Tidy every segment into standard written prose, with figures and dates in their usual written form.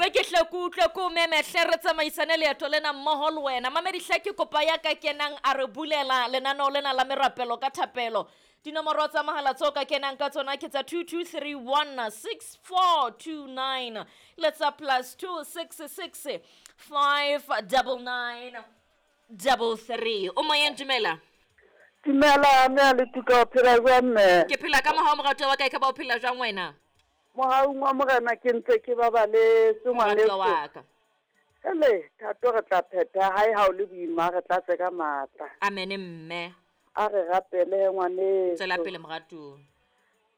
Re ke hle ke utlwe ke o meme hle re tsamaisane leeto lena mmoho le wena. Mamedi hle ke kopa ya ka kenang a re bulela lenaneo lena la merapelo ka thapelo. Dinomoro tsa mohala tseo ka kenang ka tsona ke tsa 22316429 le tsa plus 266 599 33. O moyeng, dumela. Dumela mme a le tuka, o phela jwang mme? Ke phela ka mohau moratuwa wa ka, e ka ba o phela jwang wena? Mohaung wa Morena ke ntse ke babaletse Moratuwa ngwaneso. wa ka. Hele, thato re tla phetha hae ha o le boima re tlatse ka matla. Amen mme. A re rapele ngwaneso. Tswela pele moratuwa.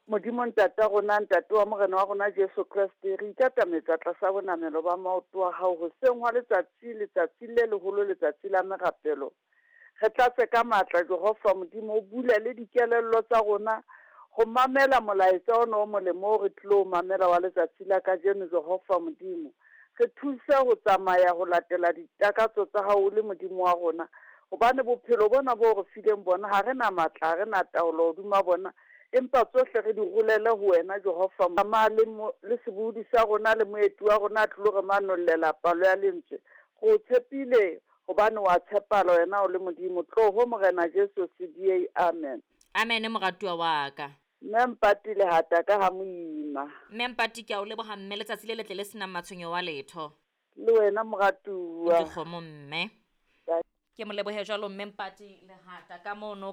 Modimo ntata rona, ntate wa Morena wa rona Jesu Kreste, re ikatametsa tlasa bonamelo ba maoto a hao hoseng hwa letsatsi, letsatsi le leholo, letsatsi la merapelo. Re tlatse ka matla Jehova Modimo, o bule le dikelello tsa rona ho mamela molaetsa ona o molemo o re tlilo mamela wa letsatsi la kajeno. Jehova Modimo, re thuse ho tsamaya ho latela ditakatso tsa hao o le Modimo wa rona, hobane bophelo bona bo re fileng bona ha re na matla, ha re na taolo hodima bona, empa tsohle re di rolele ho wena Jehova. Tsamaya le le sebohodi sa rona le moeti wa rona a tlilo re manollela palo ya lentswe. Re o tshepile hobane wa tshepahala wena o le Modimo. Tloho Morena Jesu CDA, amen. Amen moratuwa wa ka. Mme Mpati lehata ka ha moima. Mme Mpati ke a o leboha mme, letsatsi le letle le senang matshwenyo wa letho. Le wena moratuwa. Dikgomo mme. Ke mo lebohe jwalo mme Mpati lehata ka mono.